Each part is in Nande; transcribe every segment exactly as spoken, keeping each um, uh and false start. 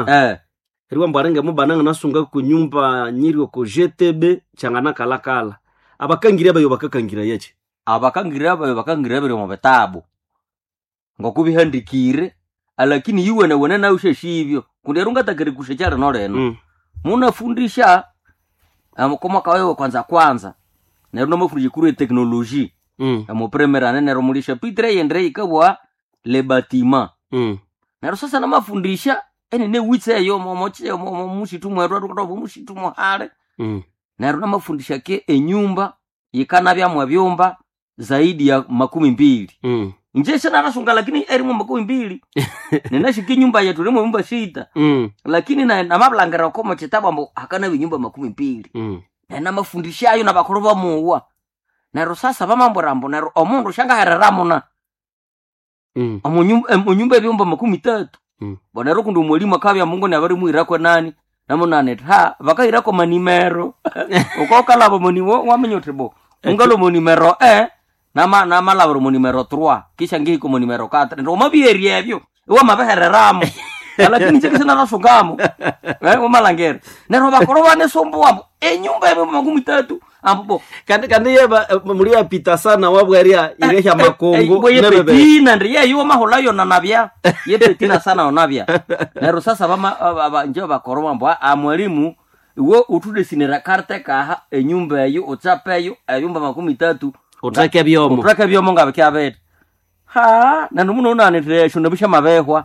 muna eh riwa mbwa ringe mubana nganasunga ku nyumba nyiri oko G T B kyangana kalakala abakangira bayo bakakangira yeche. Abakangira bayo bakangira biri mu bitabu ngokubihandikire, alakini iwene wene nawe usheshibyo kundi ero ngatakiri kushe lino lino. Mm. Munafundisha amukomaka wewe kwanza kwanza neryo namafundisha kuri technologie Mm. amupremerane neryo muli chapitre yendre yikabwa le bâtiment. Mm. Neryo sasa namafundisha enene witse eyo momoche mushitu mweru atukatoba mushitu muhale. Mm. Neryo namafundisha ke enyumba yikanabyamwe ebyumba zaidi ya makumi mbili. Mm. Nje sinarasunga lakini erimu makumi mbili ninashika inyumba yetu rimwe nyumba sita. Mm. Lakini na namablangira komo chitabu ambu hakana binyumba makumi mbili. Mm. Nenamafundishayo nabakuru bamuwa neryo sasa bamamburambu neryo omundu shangahereramuna Mm. omunyumba ebyumba makumi tatu. Mm. Bonero kundi omwalimu akabya mungu nabarimuhirako nani namunani ha bakahirako manimero ukokalaba moni waminya uthi bo ungalo monimero e nama namalabira monimero trois kisha ngihiko monimero quatre ndio mabieri ebyo iwamabihereramo lakini nje kisinarasungamo eh wamalangere neryo bakoro banesumbuwa mbu enyumba ebyumba makumi tatu ambu bo. Kandi kandi yeba muri yapita sana wabweria iresha makongo nebebe. Yepetina ndi yeyo mahula yona nabya yepetina sana onabya neryo sasa bama aba- nje bakoro mbu a mwalimu iwe utudesinira karte kaha enyumba eyo utsapeyo ebyumba makumi tatu. Utreke byomo. Utreke byomo ngabe kyabete ha nandu muno unanitire nabisha mabehwa.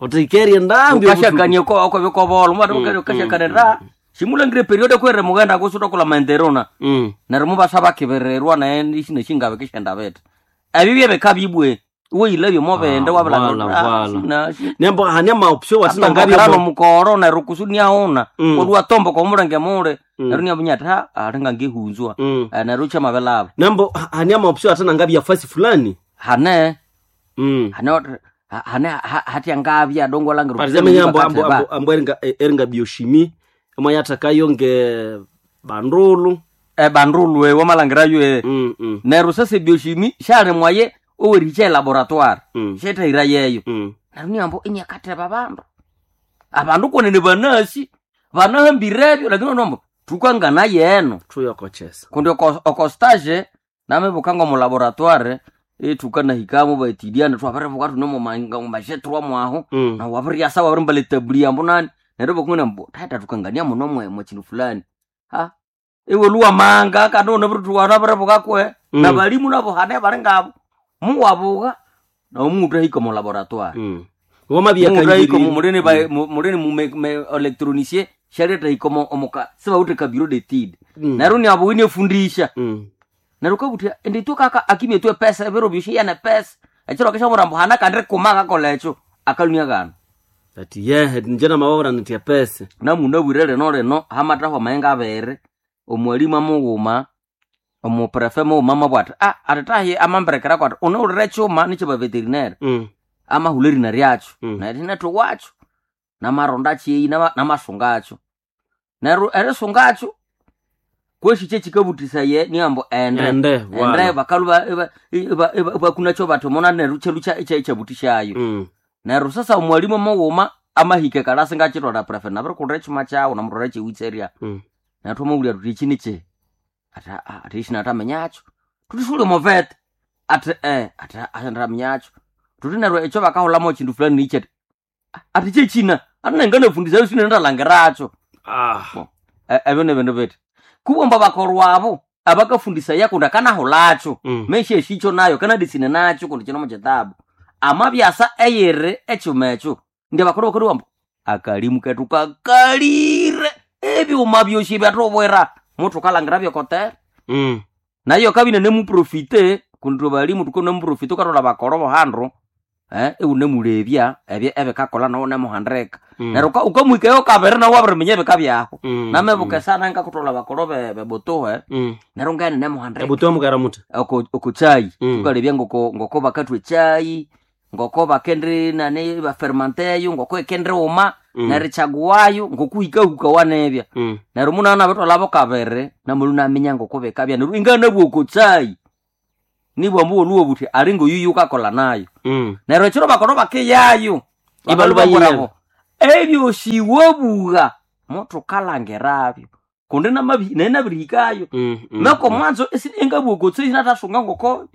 Utrikerie ndambi. Ukashakania ko ko bikobolo mwana ukashakanira shimulangire periode kwere mugenda kusuta kula maenderona. Mm. Neryo mubasa bakibererwa naye ishine shingabe kishenda bete ebyo byebeka bibwe iwe yilabye mobende. Ah, Wabalanga. wala, wala. Nembo hania ma option watina ngabi ngabyano mukoro neryo kusuniaona. Mm. Olwa tombo komulenge mule. Mm. Neryo niabunya ati ha alinga ngihunzwa. Mm. Eh, neryo chamabelaba. Nembo hania ma option watina ngabi ya fasi fulani. Hane Mm. hane ha- hane ha- hatya ngabya dongo langira. Par exemple ambo ambo ambo, ambo eringa eringa biochimie amwe yatakayo nge bandulu. Ebandulwe wamalangirayo e Mm. Mm. neryo sasa biochimie shalimwaye owericha elaboratoire. Mm. Shetahira yeyo. Mm. Neryo niambo inyakatheba abandu abandu konene banasi banahambire lakini nombo tukangana yeno. Tuyokochesa. Kundi oko- okostage namibuka ngo mulaboratoire itukanahikamo baetidiana twabiribuka tunemumashetrwa mwaho. Mm. Na wabiryasa wabirimba tabuli yambo nani neryo bakungana mbu tata tukangania muno mwe mwe kindu fulani ha iwe luwa manga kandi unabirituwana biribuka kwe. Mm. Na balimu nabo hane bali ngabo muwabuka nomuntu ahika mu laboratoire. Mm. Wamabia Mundu ahika kanjiri. mulini ba mulini mu me- me- electronicien shaleta hika omuka sibawuthe ka bureau d'étude. Mm. Neryo niabuwine efundisha. Mm. Neryo kabuthya indi tu kaka akimye tu epesa ebiro byosi yana pesa ekiro kishamura mbu hana kandi kuma akakola ekyo akalunia gana. Ati yehe njena mababura nitia pesa. Namunabwire lino lino hamatahwa amayenga abiri omwalimu amughuma omuprefe mughuma amabwa ati ah atitahi amamberekerako ati unawulire ekyuma nikyo veterinary. Mm. Amahula erina ryakyo. Mm. Neryo inathuwakyo namaronda kyeyi nama- namasungakyo neryo erisungakyo kwesi kyekikabuthisaye niambu ende Ende, ende wala. bakalu bakunakyo bathi mona neryo kyelu kyabutishayo. Mm. Neryo sasa omwalimu mughuma amahika ekalasi ngakithwala prefe nabirikulira ekyuma kyawu namutwala ekyewitserya. Mm. Neryo twamabulya thuthi iki niki ati "Ah, ati ishi natamenyakyo thuthi suli omuvete ati eh ati ashandamenyakyo thuthi neryo ekyo bakahulamo kindu fulani niki ati "Ah, ati kyekina ati nenganafundisa sine ndalangiracho." Ah. E- ebyo nebindu biti kubomba bakorwabo abakafundisaya kundi akanahulakyo. Mm. Mesha eshicho nayo kanadisine nakyo kundi kino mukitabu amabyasa eyiri ekyuma ekyo ndi abakuru bakuru bambu akalimu ketu kakalire ebyuma byosi byatubwira mutukalangira byokotere. Mm. Nayo kabine nemuprofite kundi balimu tukonemuprofite ukathola bakoro bohandu eh iwunemulebya ebyo ebikakola nawo nemuhandika. Mm. Neryo uka- ukamwikayo kabiri nawo wabiriminya ebika byaho. Mm. Namebuka sana ngakuthola bakoro be- bebutuhe. Mm. Neryo ngene nemuhandika. Ebutoa mukara muta. oko oko chai. Mm. Tukalebya ngoko ngoko bakathwa echai ngoko bakendi nani bafermanteyo ngoko ekendi uma. Mm. Nerichaguwayo ngokuhikahuka wanebya. Mm. Neryo munana bitholabo kabiri namulu naminya ngoko bikabya neryo inganabwa oko chai nibwa mbuwo buthi ali ngoyuyu ukakola nayo. Mm. Neryo ekiro bakoro bakiyayo Ibalu bayiyayo. Ebyosi wabugha mutukalangirabyo kundi namabi- naye nabirihikayo Mm, mm, meko mm. mwanzo esi- engabugha sinatasunga ngoko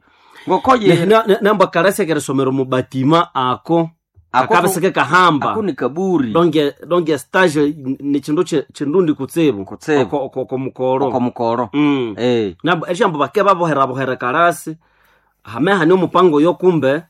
ngoko Ne- ye ne- ne- namba karasekere somero mubatima ako Ako- akabiseke kahamba ako ni kaburi donge donge stage ni chindu che- chindundi kutsibu Kutsibu. oko oko- oko mukoro oko mukoro mm. eh nabo esyambo bake babohera bohera karasi hame hani omupango yo kumbe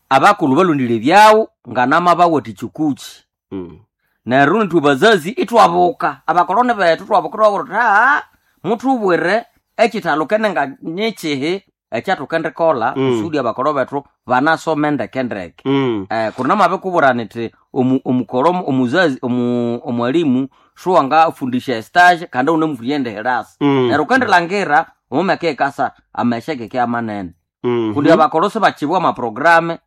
abakulu balondile byawo nganama bawati chukuchi mm. neryo nitwe bazazi itwabuka abakoloni bethu twabuka twabura tuthi haa muthubwire ekitalo kene nga nyikihi ekyathukendikolha Mm. kusudi abakolo bethu banasome ndekendeke Mm. eh, kuri namabikubwira niti omu- omukolo omuzazi omu- omwalimu suwangafundisha estage kandi unemufundisha ende herasi Mm. neryo ukendilhangira omumeka ekasa amesha keke amanene Mm. kundi abakolo sibakibwa amaprograme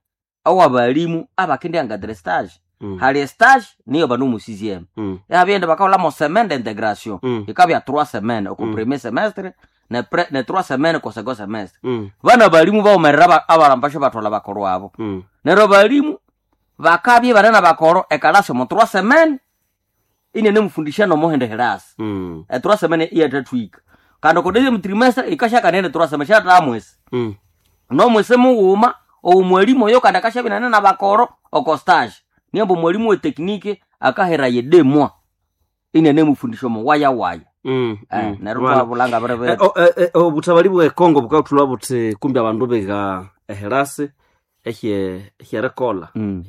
awabalimu abakendiangadira estage Mm. hali estage niyo banomusiziemu Mm. yabyenda bakaholamo semaine d'integration Mm. ikabya trois semaines oko Mm. premier semestre ne, pre, ne trois semaines ko second semestre Mm. bana balimu baumerera aba- abalambasho bathola bakolo abo Mm. neryo balimu bakabye banene bakolo ekalasi omo trois semaines inene mufundisha nomuhende herasi Mm. e trois semaines iyathathwika kandi oko deuxième trimestre ikashakanene trois semaines shathamwesi Mm. nomwese mughuma omwalimu oyo kandi akashabya inane nabakoro oko stage niambo omwalimu weteknike akahera ye deux mois inene mufundisha omo waya waya Mm. eh, Mm. neryo Voilà. twabulanga Eh, biribiri o- eh, eh, obutabali bwe Congo bukathulwa buthi kumbi abandu bega eherasi ehye ehyerikolha Mm,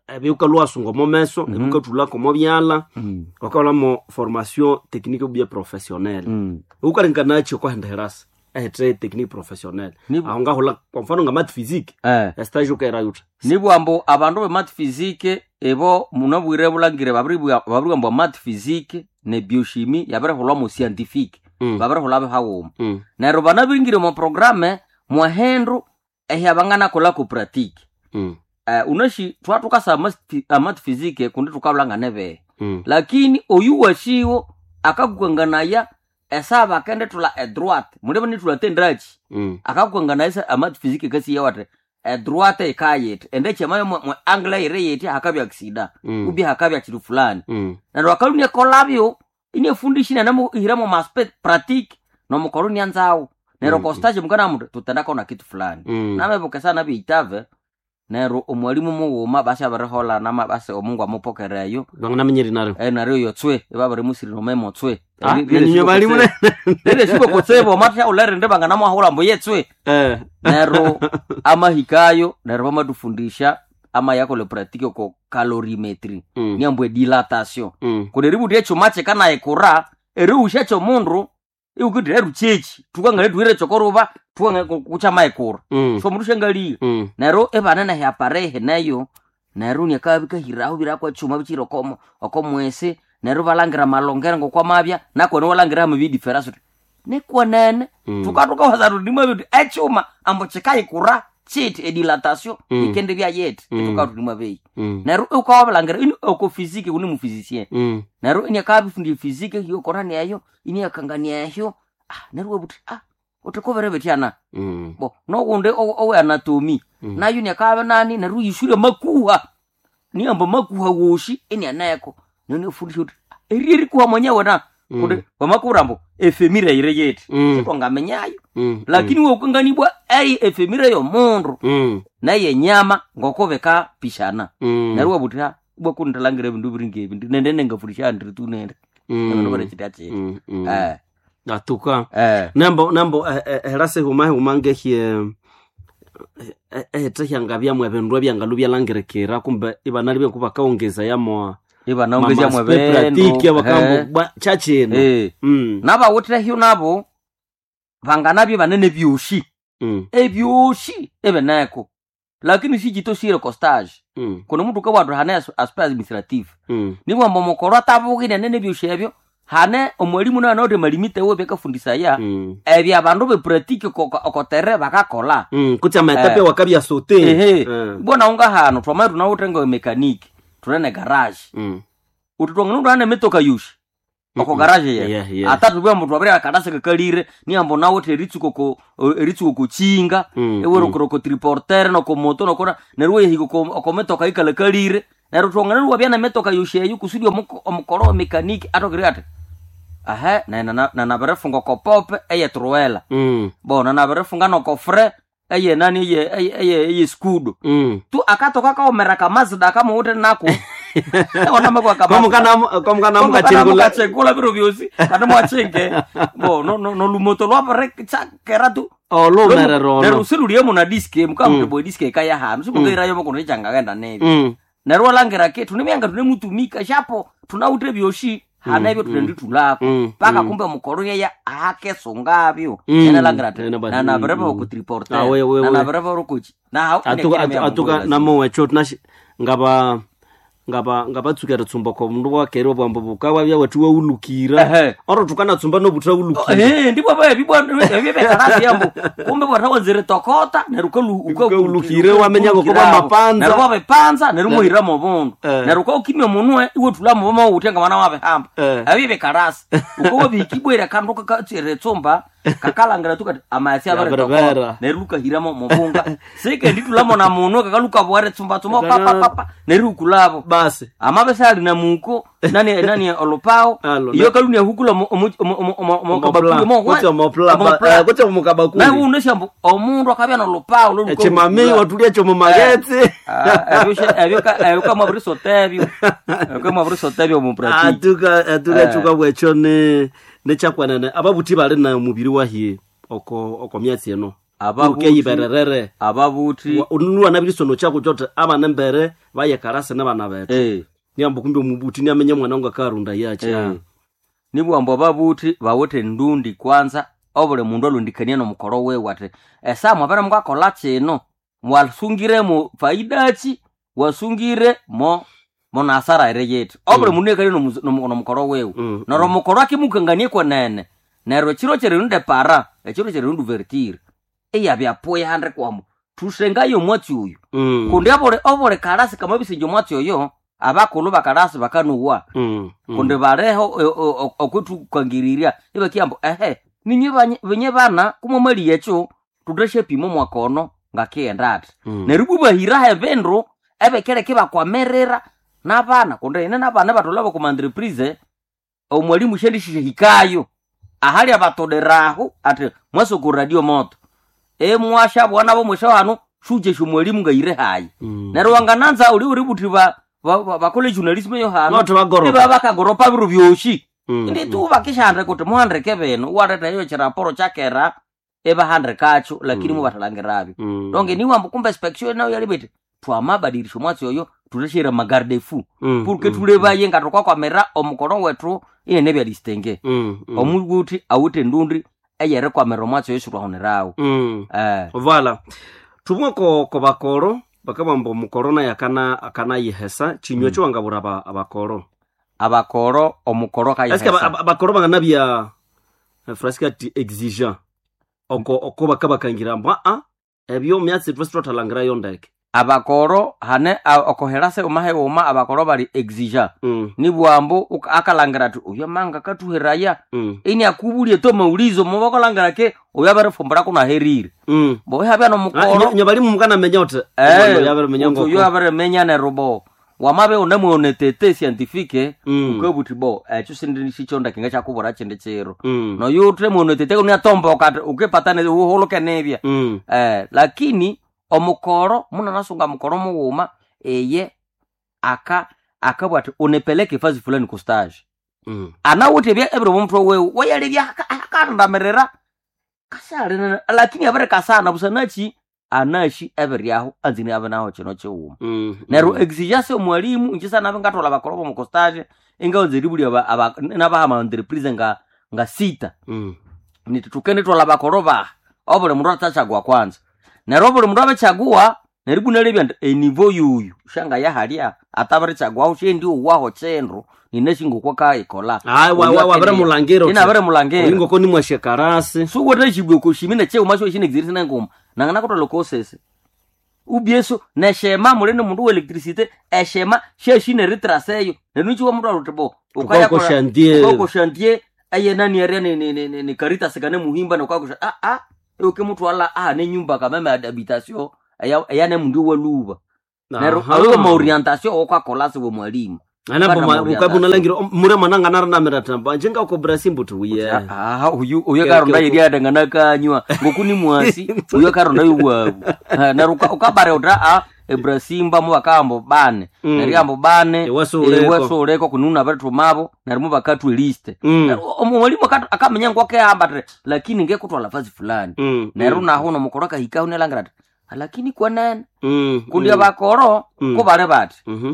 ebyukalwasunga omo meso Mhm. ebyukathulako omo byalha mm, wakaholamo formation technique ubye professionnelle mm. ukalinganachi okwahenda herasi ehete technique professionnelle Nibu- aho ngahula kwa mfano nga math physique Eh, estage ukaira yuta nibwambu abandu be math physique ebo munabwire bulangire babiribwa mbwa math physique ne biochimie yabirihulwa mu scientifique Mm. babirihulwa bihawuma Mm. neryo banabiringire omo programe mwahendu ehyabanganakolha ku pratique Mm. uh, unashi twatukasa amath physique kundi tukabulanga nebehe Mm. lakini oyu washiwo akakukanganaya esaba akendithulha edroite mulebe nithulha tendrachi Mm. akakukanganaya esa amath physique kasiya wati edroite ikayithe endekyamayo mwe mwe angle yire yithi hakabya aksida Mm. ubye hakabya kindu fulani Mm. neryo akalunia kolabyo inefundisha inanamuhiramo maspe pratique nomukolo nianzawo neryo Mm. kostaje mukanamuti tutendakona kitu fulani Mm. namebukesa nabyeitave neryo omwalimu mughuma basi abirihola nama basi omungu amupokereyo Banganamenyeri naryo eh, naryo yotswe ibabirimusiri nomemo tswe Ah, nenyo balimu ne- rire kutsibu omatha ulerinde banganamwahula mbu yetswe Eh. neryo amahikayo neryo bamatufundisha amayakola pratique oko calorimetry Mm. niambu edilatation Mm. kundi eributhi ekyuma kyikanayikura erighusha ekyomundu iwukindi erukyeki tukangane thuhire kyokoruba tukangane kukyamayikura Mm. so omundu syangaliya Mm. neryo ibane nehyapare neyo neryo niakabikahiraho birakwa ekyuma bikyiri okomo okomwesi neryo balangira amalongero ngokwamabya nakwene walangira hama bidiferasi uthi nikwenene Mm. tukatukawaza tuti nimwabya ekyuma ambu kyikayikura kyithi edilatation Mm. ikendibya yithi Mm. itukatuti nimwabeyi Mm. neryo ukawabilangira ini oko fiziki kuni mufizisien Mm. neryo iniakabifundya fiziki hiyokorania eyo iniakangania ehyo ah, neryo wabuthi ah uthikubere bityana Mm. bo nogundi owe anatomy Mm. nayo niakabe nani neryo yishure makuha niamba makuha woshi inianeko nonefundisha uthi eri erikuha mwenyewe na Mm. kundi wamakubwira mbu efemira yire yeti Mm. sitwangamenyayo Mm. lakini wokanganibwa ei efemira yomundu Mm. naye nyama ngokobekapishana Mm. neryo wabuthi ha bwakundilangira ebindu biringa ebi nende nengafundisha andiri tu nende ebindu Mm. biri kyiti Mm. Mm. eh Atuka. eh Nambo nambo eh, eh, herasi huma huma ngehye ehete hyangabyamu ebindu ebyangalu byalangirikira kumbe ibanalibye kubakaongeza yamo ibanaongezya pratique mwebendu bakambo chachino eh mm nabawithehyo nabo banganabye banene byoshi mm ebyoshi ebeneko lakini sichitosire costage mm kuno mutu kabwathu hane as- aspect administrative mm nibwamba omukoro atabukine nene ebyoshi ebyo hane omwalimu nayo nawuthe malimite we byakafundisaya mm ebyo abandu bepratike okotere bakakola mm kuti amaetape Eh. wakabya sote ehe Eh. bona unga hano twamaye tunawuthe ngo mekaniki tunene garage mm uthi twangana tunane metoka yoshi Oko garage ye Yeah, yeah. atatu bwa muthu abiri akadasa kakalire niambo nawe eritsuko ko eritsuko kuchinga Mm, ewero mm. triporter noko moto nokora nerwo yehiko ko metoka ikalakalire nerwo twongana wabya na metoka yosheyo kusudi omuko- omukoro wa mekaniki atokire ati ahe na na nabirefunga kopope eye truela Mm. bona nabirefunga nokofre eye nani eye eye eye, eye skudo Mm. tu akatoka kaomera kamazida kamuwute nako onamekwa Komukana kachengula biro byosi kati mwachinge bo no no no lumoto lwabere chakera tu olumerero nerwo siruliemo na diski mukamuti bo diski ikaya hanu simukairayo mukono ichangagenda nebi Mm. nerwo langira ke tunemyanga tunemutumika shapo tunawute byoshi hanebyo tunenditulako Mm, paka kumbe mukoro yeya akesungabyo Mm. ene langira ati Ene ba- nanabereva mm, mm. okutriporter Ah, we, we, we. nanabereva orukuchi na atuka atu- atuka namowecho tunashi ngaba ngaba ngabatsuka ritsumba ko mundu wakere bwambo bukawa bya wethu waulukira Ehe. oro tukanatsumba nobutha ulukira Eh, ndipo bebyebekarasi yambo kumbe bwathawanzire tokota neryo Ukaulukire, wamenya ngokuba mapanza. neryo wabipanza neryo muhiramo obundu Eh. neryo ukaukimya omunwe iwethulamo bamawuthe nga mwana wabihamba Eh. ebyo bikarasi ukawabihikibwere akandu kakatsire tsumba kakalangira tukati amasi Yabirebera. abiritokota neryo lukahiramo mubunga sikendithulamo na munwe kakalukabwere tsumba tsumba papapapa neryo ukulabo basi amabesa ali na muko nani nani olupao Alo, iyo kaluni ahukula Omopla. Kutsi omopla, ba- eh, kutsi omukabakuli. nauneshambu omundu akabya nolupao echimami watulia chomo magetsi ebyokamwabirisotebyo ebyokamwabirisotebyo mupratiki atuka atuka chuka bwecho ne nechakwanene ababuthi bali na mubiri wahi oko oko myatsi eno Ababuthi- ukeyibererere ababuthi unulwa nabirisono chako chote abana mbere bayekarase nabana bethu eh, niambo kumbe omubuthi niamenye mwana wangu akarunda yache eh. nibwambo ababuthi bawithe ndundi kwanza obuli mundu alondikania nomukoro wiwe ati esa mwabere mwakola kino mwasungiremo faidachi wasungire mo monasara ere yithi obuli mundu ekali nomu- nomu- nomukoro wiwe Mm, neryo omukoro akimukanganie kwenene neryo ekiro kyerindu para ekiro kyerindu vertire iyabyapuya handi kwamo thusengayo omwatsi oyu Mm, kundi obuli obuli kalasi kamabisinja omwatsi oyo abakulhu bakalasi bakanuwa mm, mm. kundi baleho okwithukangirirya ibakiyamba ehe ninye banye- binye bana kumwamaliya ekyo thuthashyapima omwakono ngakighenda athi Mm. neryo ibwabahiraho ebindu ebikereka ibakwamirira n'abana kundi ine n'abana batholha bakuma entreprise omwalimu syandishihikayo ahali abatoleraho ati mwasoko radio moto emwashabwa nabo mwesha hano shujesha omwalimu ngayire hayi Mm. neryo wangananza uli uri buthi ba ba- bakole journalism yo hano Not bagoropa. iba bakagoropa biro byoshi Mm, ndi tu bakishandre kuti muhandike bino waletha iyo chiraporo chakera ibahandikakyo lakini mubathalangirabyo Mm. donge niwambu kumbe inspection nayo yalibiti twamabadilisha omwatsi oyo thuthashira magarde fu Mm, purke mm, thulebaye nga thukwakwamira omukono wethu inene byadistenge Mm, mm. omubuthi awithe endundi eyerikwamira omwatsi oyo sithwahunirawo Mm. eh vala thumwe ko ko bakoro bakabamba omukoro naye akana akanayihesa chinywa mm. chiwangabura aba- abakoro abakoro omukoro eske kayihesa abakoro banganabya eh, frasika ti exigent oko oko bakabakangira mbu aa ebyo myatsi twesi twathalangirayo ndeke abakoro hane a- okoherase umaheghuma abakoro bali exigent mm, nibwambu uka- akalangira ati uyo manga katuheraya mm, ini akubulie to maulizo mubakolangira ke uyo abarifumbura kunaherire mm. bo habya Ah, nomukoro nyo- nyo bali mukanamenya uti Eh, yabirimenya uti uyo ngoko abirimenya neryo bo wamabe unamuone tete scientifique Mm. ukabuthi bo ekyo sindi sikyonda kinga kyakubura kindi kiro Mm, noyo uthemuone tete uniatomboka ati ukipata ne- uhuluke nibya mm, eh, lakini omukoro munanasunga mukoro mughuma eye aka akabwa ati unipeleke fazi fulani ku stage mm. anawithe ebya ebiri omutwe wewe wayalebya akarandamirira kasali lakini abirikasana busanachi anashi ebiryaho anzini abe naho kino kighuma Mm, neryo mm. exigence omwalimu inje sanabe ngathola abakoro bomu stage ingaghunza eribulya aba- aba- nabaha entreprise nga nga sita Mm. niti tukenditwala bakoro baha obuli mundu atachagua kwanza neryo obuli mundu abichagua neryo ibunalebya nti enivo yuyu shanga yahalya atabirichaguaho shendi uwaho chindu ninashingokwa kaikola Ayi, wa- wa- wabirimulangira uti. ina abirimulangira Ingoko nimwashe karasi suwotashibwe koshimi necheuma sho shinexirisi nengoma nangana kutwala kosese Ubyeso neshema muli ni mundu wa electricité eshema shashine ritraseyo neryo nikiwa mundu aluti bo Ukako chantier. ukako chantier aye nani area ni ni ni, ni, ni Caritas kane muhimba nokakosha ah ah uke mutwala ah ne nyumba kameme habitation eya eya ne mundu waluba neryo Aha. ayo ma orientation okwakola siwe mwalimu Anapo Bana ma- maorientation. ukabuna langira mure mwananga naranamira tamba njenga uko Brazil mbuti uye Ah, uyu uyu Ke- karonda ke- yeri adangana kanywa ngoku ni mwasi uyu karonda yuwabu neryo uka- ukabare uta a ebrasimba mubakambo bane Mm. neryo ambo bane Ewasuleko. ewasuleko kununa batumabo neryo mubakatwe liste Mm. Neryo omwalimu akatu- akamenya ngwakehamba ati lakini ngekutwala fazi fulani Mm, neryo mm, nahu nomukoro akahikaho nelangira ati lakini kwenene mm, kundi mm, abakoro Mm. kubali bati mhm,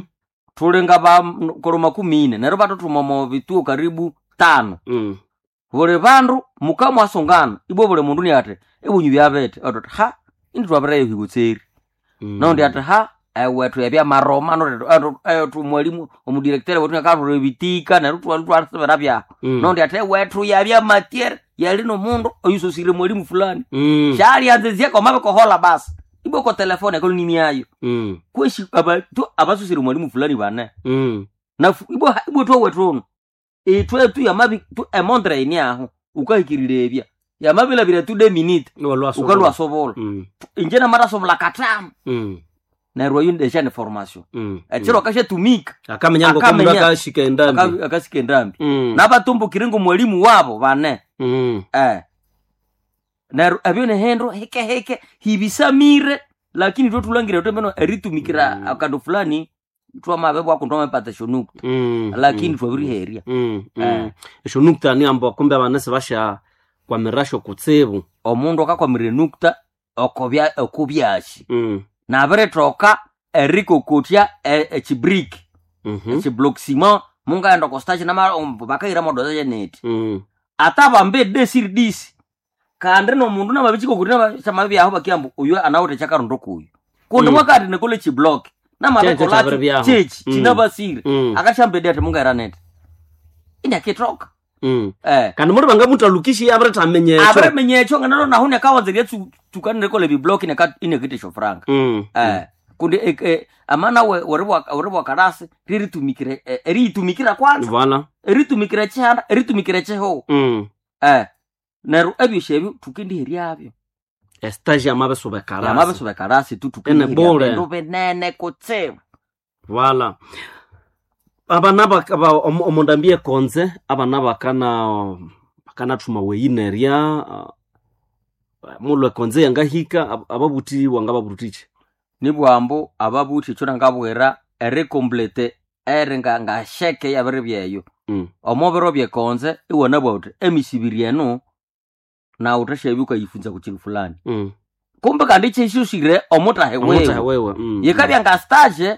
tulinga bakoro makumi ine neryo batutuma mu bituo karibu tano mm. buli bandu mukamwasungana ibwo buli mundu niati ebunyu byabete ototi ha indi twabireyo higutseri Mm. nondi ati ha ewethu ebyamaroma nondi mwalimu omudirektere wetu nakathura ebitika neryo twasibira byaho Mm. nondi ati ewethu yabyamatiere yali nomundu oyusosire mwalimu fulani Mm, shalianzizia komabikohola basi ibwo ko telefone ekoloniniayo mm, kweshi aba- tu- abasusire mwalimu fulani bane mm. na ibwo ibwo twowethu itwe tu yamabi tu emondre ini aho ukahikirira ebya yamabilabira tu de minute Walwasobola. ukalwasobola Mm, inje namarasobola katano mm, neryo ayo ndesha ni formation mm, ekiro akashatumika akamenya ngo Akamenya. komundu akashika endambi aka- akasika endambi Mm, nabatumbukire ngomwalimu wabo bane mm, eh neryo ebyo nihindu hike hike hibisamire lakini twetulangire twemeno eritumikira Mm. akandu fulani twamabe bwako twamapata shonukta mm, lakini mm, twabiriherya mm, mm. Eh. Esyo nukta ni ambo kumbe abana sibasha kwamirasho kutsibu omundu akakwamira enukta okobya okubyashi Mm, nabiritoka erikokotya e- echibriki mhm, echiblock ciment mungaenda kostachi nama bakahira modoza cheneti mm, ata bambe desir disi kandi nomundu namabichikokuti chamabyaho bakiambu uyu anawite chakarundo kuyu kundi Mm. mwakati nikole chiblock Cheche chabiribyaho. namabikolacho chechi Mm. chinabasire mm, akachambede ati mungaira neti inakitoka mm. eh kandi muri bangamutalukishi abiritamenye ekyo abiriminya ekyo nganalo nahu nekawanzeria tukanire biblock inekitesho franga Mm, eh kundi eh, eh, amana we weribwa karasi riritumikire eh, eriyitumikira kwanza Voilà. eritumikira chihanda eritumikira chihowo Mm. eh neryo ebyosyo ebyo tukendiheryabyo Estage yamabisoba karasi. yamabisoba karasi tu Ene bure. tukendiherya binene kutsibu Voilà. Abana baka ba- omu- omundu ambie konze abana bakana bakanathuma weyinerya ah, mulwe konze yangahika ab- ababuthi wangababuthikyi nibwambu ababuthi ekyo nangabwira erikomplete eri nga ngasheke yabiri byeyo Mm. omubiro byekonze iwanabwa uthi emisibiri enu nawe uthashabya ukayifunza kukindu fulani Mm. kumbe kandi kyishushire omutahe Omutahe wewe wewe. Mm. yikabya nga stage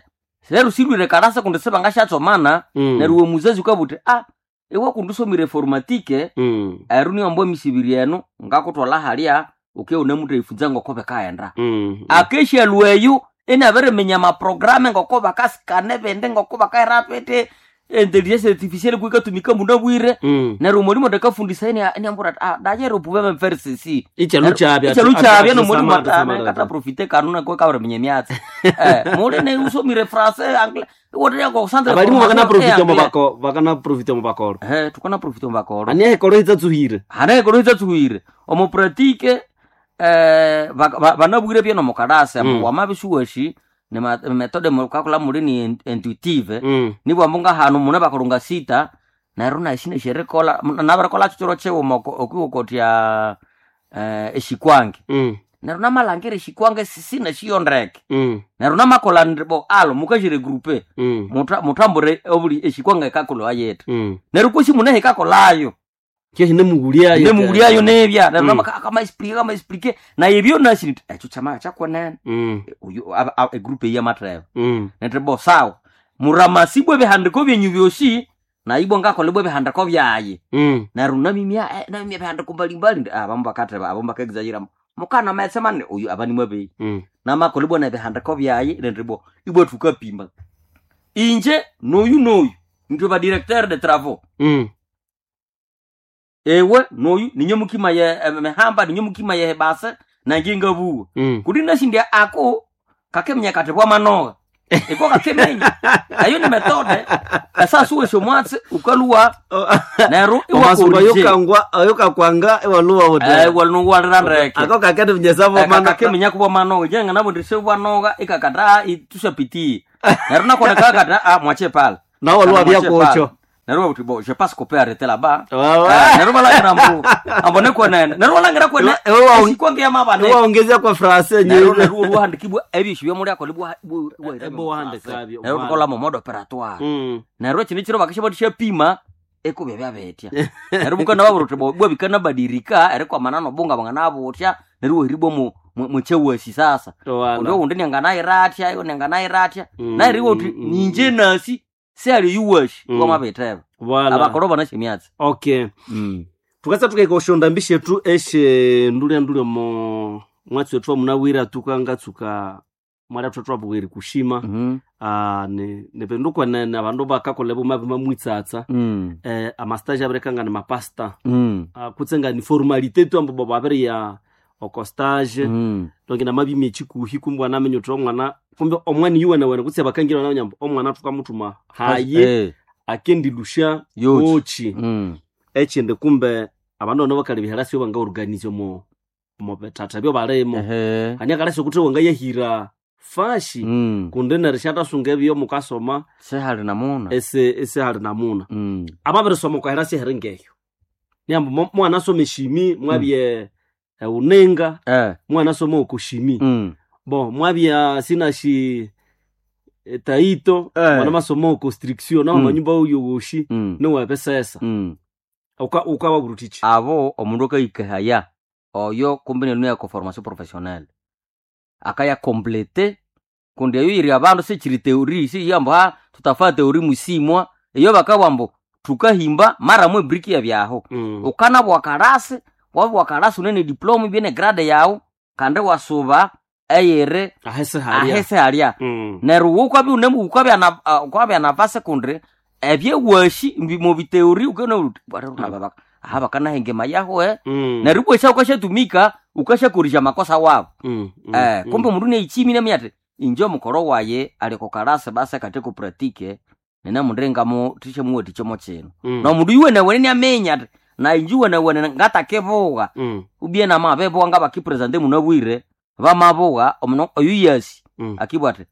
lero silwire karasa kundi sibangashatsomana Mm. neryo we muzazi ukabwa uthi ah iwe kundi usomire informatike Mm. eru niyo emisibiri enu ngakutwala halya uke unemuthayifunza ngoko bikaghenda Mm. akeshalwa eyo inabiriminya amaprograme ngoko bakasikana ebindi ngoko bakahira biti intelligence artificielle kuikatumika munabwire Mm. neryo omwalimu atakafundisa iniambura ati ah dayero pouvez me faire ceci Ikyalo kyabya. ikyalo kyabya nomwalimu Ati- ati- kata profite kanu kabiriminya emyatsi eh muli ne usomire français anglais iwote ko centre Abalimu bakana profite mu bako bakana profite mu bakoro. eh tukana profite mu bakoro Ani ekoro itsatsugire. hana ekoro itsatsugire omu pratique eh ba- ba- banabwire bye nomukarasi Mm. wamabisuwashi ni ma- methode mukakola muli ni in- intuitive Mm. nibwambu ngahanu mune bakolonga sita neryo nashine sherikola nabirikola chichiro chiwuma okwiwokotya eh, eshikwange Mm. neryo namalangira eshikwange sisina shiyondeke Mm. neryo namakola ndibo alo mukashire grupe Mm. muta- mutambure obuli eshikwanga ekakolwa yethu Mm. neryo kwesi mune hekakolayo Kyo hinemughulyayo. nemughulyayo nebya neryo Mm. kamaexplike kamaexplike naye ebyo nasi nti ekyo kyama kyakonene Mm. uyu aba- aba- egroup eyi yamatheba Mm. nti bo sawa muramasibwa ebihandiko byenyu byosi naibwo ngakolebwa ebihandiko byaye Mm. neryo namimya eh, namimya ebihandiko mbalimbali ndi abamu bakatheba abamu bakaexagera mukana metse mane uyu abanimwabeyi Mm. namakolebwa nebihandiko byaye nti bo ibwa thukapima inje noyu noyu nitwe ba directeur de travaux Mm. ewe noyu ninye mukima ye eh, mihamba ninye mukima ye base nange ngabuwa Mm. kuti nashindya ako kakeminya kati bwamanoga iko kakiminya eyo ni methode esasuwesya omwatsi ukaluwa neryo omasuku iwakorije ayokangwa ayokakwanga iwaluwa uti iwaluwalira ndeke ako kakende vinyesavo mana kakeminya kubwamanoga jenga nabo ndise bwanoga ikakata tushapitie neryo nakona kakata ah mwache pale nawo waluwa Mwache byakocho pale. Neryo babuti bo je passe couper arrêter là-bas. Wawa. Eh, neryo balangira mbu ambone kwenene neryo balangira kwene Iwe- iwe wa- sikwangia mabane iwaongezea kwa frase neryo nyinyi neryo olwahandikibwa ebyo byomuli akola bwa Ebo wahandikabyo, neryo wala. tukola mu mode operatoire Mm. neryo kino kiro bakisha batishapima ekubya byabetya neryo bukana baburuti bo bwa bikana badirika erikwamana nobunga bangana butya neryo weribwa mu muchewasi sasa Wala. undi undi nyanganayiratya iyo nyanganayiratya Mm, nairiwo uti mm, mm, ninje nasi seali yuwashi Mm. wamabeteba Wala. abakoro banashemyatsi okay mm. tukasa tukaika oshonda mbishi etu eshe ndulya ndulya mo mwatsi wetu wamunawira tukangatsuka mwalya thwe twabughere kushima mm ah, ni ni kwenene abandu bakakola buma bimamwitsatsa -hmm. eh, amastage abirekanga ni mapasta mm. ah, kutse ni formalite tu ambo babiriya oko stage mm. donc namabimya ekikuhi kumbe wanamenya uthi omwana kumbe omwana yuwene wene kutse bakangira nabanya mbu omwana thukamuthuma haye Eh, akendilusha yochi. ochi Mm. ekindi kumbe abandu bano bakalebya herasi bangaorganize omo omo bithatha byobalimo Ehe. hani akalasi ukuthi wangayahira fashi Mm. kundi neryo syathasunga ebyo mukasoma sehali namuna ese esehali namuna mm. ababirisoma okwaherasi eheri ngeyo niambu mo- mwanasoma eshimi mwabye eunenga eh. mwanasoma okushimi mm. bo mwabya sinashi eh, taito Eh. mwanamasoma okostriction naho Mm. manyumba oyowoshi mm. niwebesesa mm. ukawabura uthichi abo omundu akahikahaya oyo kumbe nenu yako formation professionnelle akaya complete kundi eyo yiri abandu sichiri teori siyambo ha tutafaa teori musimwa eyo bakabwambo tukahimba mara mwe briki yabyaho Mm. ukanabwa karasi wabwa karasi unene diploma ibyene grade yawu kandi wasuba eyiri ahese halia ahese halya Mm. neryo wukwabya une wukwabya na uh, ukwabya nava secondary ebyewashi mubiteori ukena aha bakanahengema yaho eh Mm. neryo ibwesha ukashatumika ukashakorisha makosa wabo Mm, mm, eh mm. kumbe omundu neichimi namenya ati inje omukoro waye ali kukarasi basi akate kupratike nina mundu engamo tishamuwati chomo chino Mm. na omundu yuwenewene niamenya ati na inje uwenewene ngatakevuga Mm, ubie namabebuga ngabakipresente munabwire bamabuga omuno oyu yasi mm, akibwa ati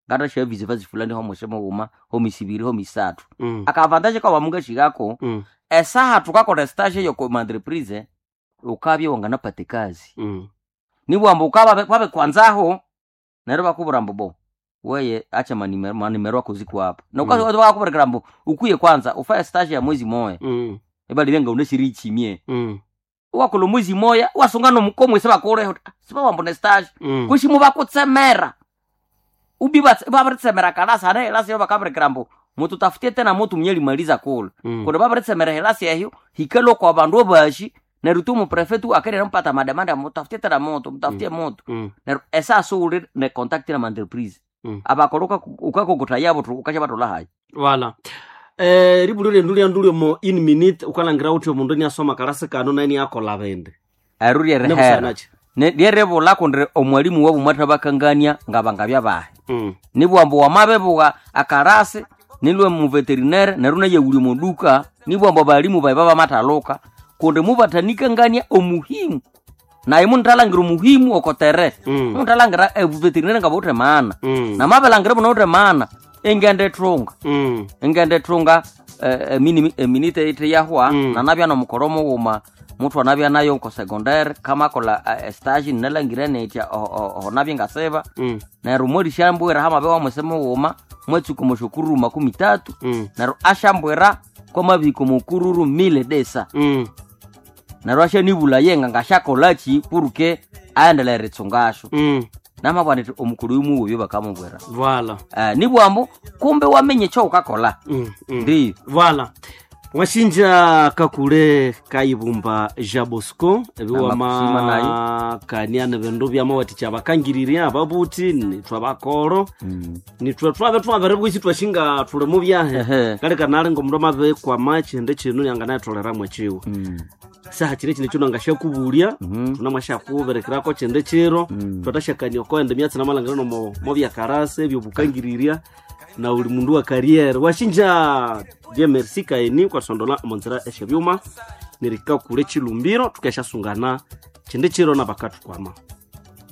ngatashavizi vazi fulani homwese mughuma homisibiri homisathu mm, akavantaje kawamungashighako mm, esaha thukakola estage yokomaentreprise ukabya wanganapata ekazi mm. nibwamba ukaba kwabekwanzaho neryo bakubwira mbu bo weye acha manimero manimero ako ziko hapa na Mm. ukabakubwira mbu ukuye kwanza ufaye stage ya mwezi moya Mm, ebali benga uneshiri ichimie mm, wakola mwezi moya wasunga nomukomwe sebakuleho sibawamba ne stage mm. kushimo bakutsemera ubi babiritsemera kalasi hane helasi eyo bakabirikira mbu mututafutie tena mutu mnyelimaliza kula Mm. kundi babiritsemera helasi eyo hikalo kwa bandu abashi neryo tu muprefetu akerera mupata mademanda mutafutie tena mutu mutafutie mutu Mm, neryo esasa uli ne contact na entreprise Mm. abakolo ukakokota yabo tu ukashabathola hayi wala eh ribulyo lyendu lyandulyo mo in minute ukalangira uthi omundu niasoma kalasi kano naye niakola bindi eru lyerihera Nebusanachi. lyeribula kundi omwalimu wabu mwathabakangania ngabangabya bahe Mm, nibwambu wamabebuka akarasi nilwe muveterinere neryo nayewulya omuduka nibwambu abalimu bayi babamathaluka kundi mubathanikangania omuhimu naye munithalangira omuhimu okotere Mm. munithalangira ebuveterinere ngabawuthe maana mm, namabelhangira bunawuthe maana ingenda ethunga mm, ingenda ethunga eh, emini- eminite ithi yahwa Mm. nanabya nomukoro mughuma muthu anabya nayo nko secondary kamakolha eh, estage nalangire nitya oho nabya ngasiba mm, neryo mwerisyambwira hamabe wamwese mughuma mwetsuka omushukururu makumi tatu mm, neryo asyambwira kwamabihika omukururu mile desa mm. neryo asyanibula yenga ngasyakolaki puruke ayendelere eritsungasyo Mm. namabwana iti omukuru oyu mughuma bakamubwira Voilà. eh, nibwambu kumbe wamenye ekyowukakolha Mm, mm. ndiyo Voilà. Mwashinja kakule kayibumba ja Bosco Namakusima nayo. ebiwamakania nebindu byamawathikya abakangiriria ababuthi nithwe abakoro nithwe twabe twabiribwisi twashinga thuli mu byahe Ehe. kaleka nali ngomundu amabikwama ekyindi kinu yanganayitholeramu ekyiwa saha kiri kino kino ngashyakubulya tunamwashyakubirikirako kyindi kiro twatashakania okoenda emyatsi namalhangira nomo mobyakarasa ebyobukangiriria na uli mundu wa karriere washinja die merci kaeni kwasondola omonzira esyebyuma nerikakule chilumbiro tukeshasungana kyindi kiro nabakathukwama.